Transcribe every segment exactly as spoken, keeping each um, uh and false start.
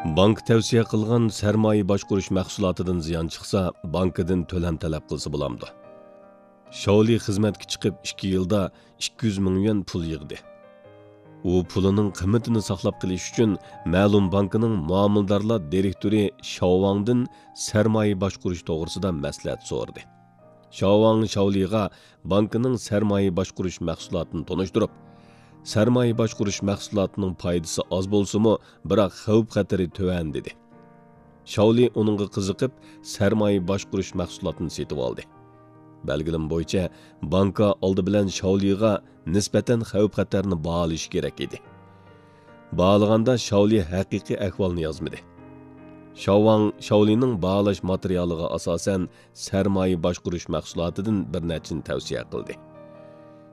بانكا تەۋسىيە قىلغان سەرمايە باشقۇرۇش مەھسۇلاتىدىن زىيان چىقسا، بانكىدىن تۆلەم تەلەپ قىلسا بولامدۇ؟ شاۋلى خىزمەتكە چىقىپ ئىككى يىلدا ئىككى يۈز مىڭ يۈەن پۇل يىغدى. ئۇ پۇلىنىڭ قىممىتىنى ساقلاپ قېلىش ئۈچۈن مەلۇم بانكىنىڭ مۇئامىلىدارلار دىرېكتورى شاۋ ۋاڭدىن سەرمايە باشقۇرۇش توغرىسىدا مەسلىھەت سورىدى. شاۋ ۋاڭ شاۋلىغا بانكىنىڭ سەرمايە باشقۇرۇش مەھسۇلاتىنى تونۇشتۇرۇپ، سەرمايە باشقۇرۇش مەھسۇلاتىنىڭ پايدىسى ئاز بولسىمۇ، بىراق خەۋپ-خەتىرى تۆۋەن، دېدى. شاۋلى ئۇنىڭغا قىزىقىپ، سەرمايە باشقۇرۇش مەھسۇلاتىنى سېتىۋالدى. بەلگىلىمە بويىچە، بانكا ئالدى بىلەن شاۋلىغا نىسبەتەن خەۋپ-خەتەرنى باھالىشى كېرەك ئىدى. باھالىغاندا شاۋلى ھەقىقىي ئەھۋالنى يازمىدى. شاۋ ۋاڭ شاۋلىنىڭ باھالاش ماتېرىيالىغا ئاساسەن، سەرمايە باشقۇرۇش مەھسۇلاتىدىن بىر نەچچىنى تەۋسىيە قىلدى.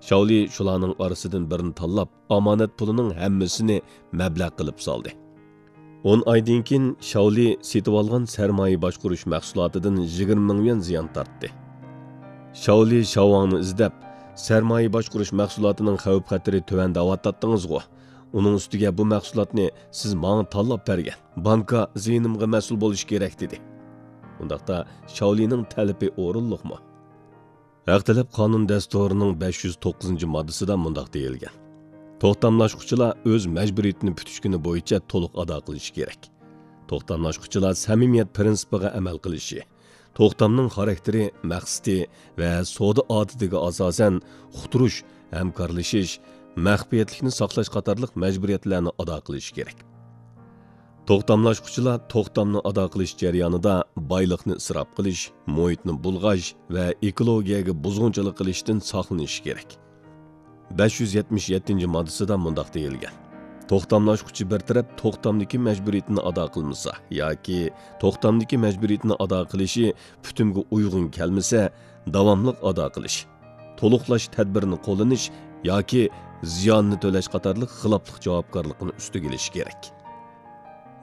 شاۋلى شۇلارنىڭ ئارىسىدىن بىرنى تاللاپ، ئامانەت پۇلىنىڭ ھەممىسىنى مەبلەغ قىلىپ سالدى. ئون ئايدىن كېيىن شاۋلى سېتىۋالغان سەرمايە باشقۇرۇش مەھسۇلاتىدىن يىگىرمە مىڭ يۈەن زىيان تارتتى. شاۋلى شاۋ ۋاڭنى ئىزدەپ، سەرمايە باشقۇرۇش مەھسۇلاتىنىڭ خەۋپ-خەتىرى تۆۋەن دەۋاتاتتىڭىزغۇ؟ ئۇنىڭ ئۈستىگە بۇ مەھسۇلاتنى سىز ماڭا تاللاپ بەرگەن. بانكا زىيىنىمغا مەسئۇل بولۇشى كېرەك، دېدى. ئۇنداقتا شاۋلىنىڭ تەلىپى ئورۇنلۇقمۇ؟ ھەق تەلەپ قانۇن دەستۇرىنىڭ بەش يۈز توققۇزىنچى ماددىسىدا مۇنداق دېيىلگەن: توختاملاشقۇچىلار ئۆز مەجبۇرىيىتىنى پۈتۈش كۈنى بويىچە تولۇق ئادا قىلىشى كېرەك. توختاملاشقۇچىلار سەمىمىيەت پىرىنسىپىغا ئەمەل قىلىشى، توختامنىڭ خاراكتېرى، مەقسىتى ۋە سودا ئادىتىگە ئاساسەن، ئۇقتۇرۇش، ھەمكارلىشىش، مەخپىيەتلىكنى ساقلاش قاتارلىق مەجبۇرىيەتلەرنى ئادا قىلىشى كېرەك. توختاملاشقۇچىلار توختامنى ئادا قىلىش جەريانىدا بايلىقنى ئىسراپ قىلىش، مۇھىتنى بۇلغاش ۋە ئېكولوگىيەگە بۇزغۇنچىلىق قىلىشتىن ساقلىنىشى كېرەك. بەش يۈز يەتمىش يەتتىنچى ماددىسىدا مۇنداق دېيىلگەن: توختاملاشقۇچى بىر تەرەپ توختامدىكى مەجبۇرىيىتىنى ئادا قىلمىسا ياكى توختامدىكى مەجبۇرىيىتىنى ئادا قىلىشى پۈتۈمگە ئۇيغۇن كەلمىسە، داۋاملىق ئادا قىلىش، تولۇقلاش تەدبىرىنى قوللىنىش ياكى زىياننى تۆلەش قاتارلىق خىلاپلىق جاۋابكارلىقىنى ئۈستىگە ئېلىشى كېرەك.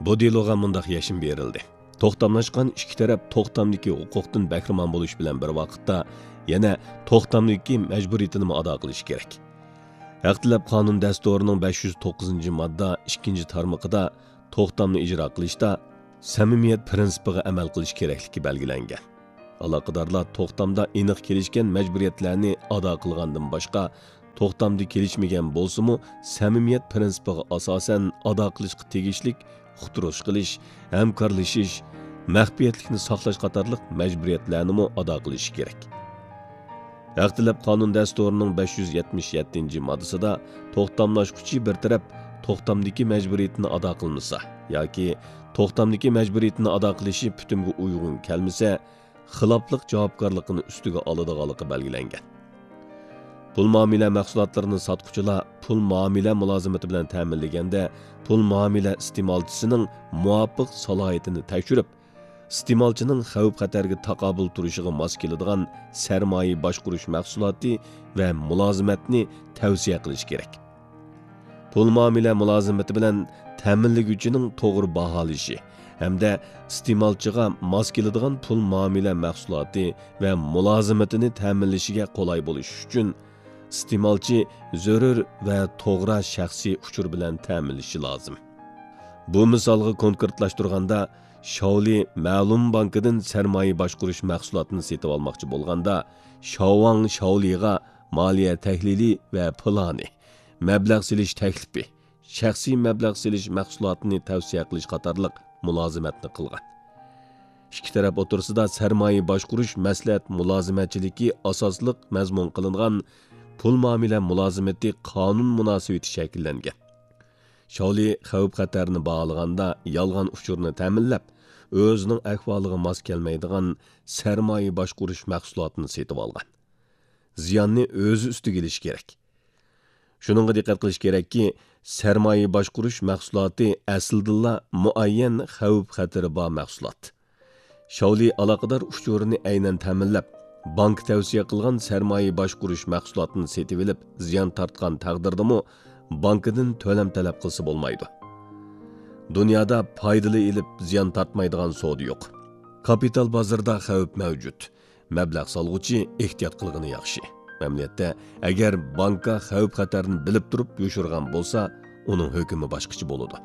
بۇ دېلوغا مۇنداق يەشمە بېرىلدى: توختاملاشقان ئىككى تەرەپ توختامدىكى ھوقۇقتىن بەھرىمەن بولۇش بىلەن بىر ۋاقىتتا يەنە توختامدىكى مەجبۇرىيىتىنىمۇ ئادا قىلىشى كېرەك. ھەق تەلەپ قانۇن دەستۇرىنىڭ بەش يۈز توققۇزىنچى ماددا ئىككىنچى تارمىقىدا توختامنى ئىجرا قىلىشتا سەمىمىيەت پىرىنسىپىغا ئەمەل قىلىش كېرەكلىكى بەلگىلەنگەن. ئالاقىدارلار توختامدا ئېنىق كېلىشكەن مەجبۇرىيەتلەرنى ئادا قىلغاندىن باشقا، توختامدا كېلىشمىگەن بولسىمۇ، سەمىمىيەت پىرىنسىپىغا ئاساسەن ئادا قىلىشقا تېگىشلىك ئۇقتۇرۇش قىلىش، ھەمكارلىشىش، مەخپىيەتلىكنى ساقلاش قاتارلىق مەجبۇرىيەتلەرنىمۇ ئادا قىلىشى كېرەك. ھەق تەلەپ قانۇن دەستۇرىنىڭ بەش يۈز يەتمىش يەتتىنچى ماددىسىدا توختاملاشقۇچى بىر تەرەپ توختامدىكى مەجبۇرىيىتىنى ئادا قىلمىسا ياكى توختامدىكى مەجبۇرىيىتىنى ئادا قىلىشى پۈتۈمگە ئۇيغۇن كەلمىسە، خىلاپلىق جاۋابكارلىقىنى ئۈستىگە ئالىدىغانلىقى بەلگىلەنگەن. پۇل مۇئامىلە مەھسۇلاتلىرىنى ساتقۇچىلار پۇل مۇئامىلە مۇلازىمىتى بىلەن تەمىنلىگەندە، پۇل مۇئامىلە ئىستېمالچىسىنىڭ مۇۋاپىق سالاھىيىتىنى تەكشۈرۈپ، ئىستېمالچىنىڭ خەۋپ-خەتەرگە تاقابىل تۇرۇشىغا ماس كېلىدىغان سەرمايە باشقۇرۇش مەھسۇلاتى ۋە مۇلازىمەتنى تەۋسىيە قىلىشى كېرەك. پۇل مۇئامىلە مۇلازىمىتى بىلەن تەمىنلىگۈچىنىڭ توغرا باھالىشى ھەمدە ئىستېمالچىغا ماس كېلىدىغان پۇل مۇئامىلە مەھسۇلاتى ۋە مۇلازىمىتىنى تەمىنلىشىگە قولاي بولۇش ئۈچۈن، ئىستېمالچى زۆرۈر ۋە توغرا شەخسىي ئۇچۇر بىلەن تەمىنلىشى لازىم. بۇ مىسالغا كونكرېتلاشتۇرغاندا، شاۋلى مەلۇم بانكىدىن سەرمايە باشقۇرۇش مەھسۇلاتىنى سېتىۋالماقچى بولغاندا، شاۋ ۋاڭ شاۋلىغا مالىيە تەھلىلى ۋە پىلانى، مەبلەغ سېلىش تەكلىپى، شەخسىي مەبلەغ سېلىش مەھسۇلاتىنى تەۋسىيە قىلىش قاتارلىق مۇلازىمەتنى قىلغان. ئىككى تەرەپ ئوتتۇرىسىدا سەرمايە باشقۇرۇش مەسلىھەت مۇلازىمەتچىلىكى ئاساسلىق مەزمۇن قىلىنغان پۇل مۇئامىلە مۇلازىمىتى قانۇن مۇناسىۋىتى شەكىللەنگەن. شاۋلى خەۋپ-خەتەرنى باھالىغاندا يالغان ئۇچۇرنى تەمىنلەپ، ئۆزىنىڭ ئەھۋالىغا ماس كەلمەيدىغان سەرمايە باشقۇرۇش مەھسۇلاتىنى سېتىۋالغان. زىياننى ئۆزى ئۈستىگە ئېلىشى كېرەك. شۇنىڭغا دىققەت قىلىش كېرەككى، سەرمايە باشقۇرۇش مەھسۇلاتى ئەسلىدىنلا مۇئەييەن خەۋپ-خەتىرى بار مەھسۇلات. شاۋلى ئالاقىدار ئۇچۇرىنى ئەينەن تەمىنلەپ، بانكا تەۋسىيە قىلغان سەرمايە باشقۇرۇش مەھسۇلاتىنى سېتىۋېلىپ زىيان تارتقان تەقدىردىمۇ بانكىدىن تۆلەم تەلەپ قىلسا بولمايدۇ. دۇنيادا پايدىلا ئېلىپ زىيان تارتمايدىغان سودا يوق. كاپىتال بازىرىدا خەۋپ مەۋجۇت. مەبلەغ سالغۇچى ئېھتىيات قىلغىنى ياخشى. ئەمەلىيەتتە، ئەگەر بانكا خەۋپ-خەتەرنى بىلىپ تۇرۇپ يوشۇرغان بولسا، ئۇنىڭ ھۆكمى باشقىچە بولىدۇ.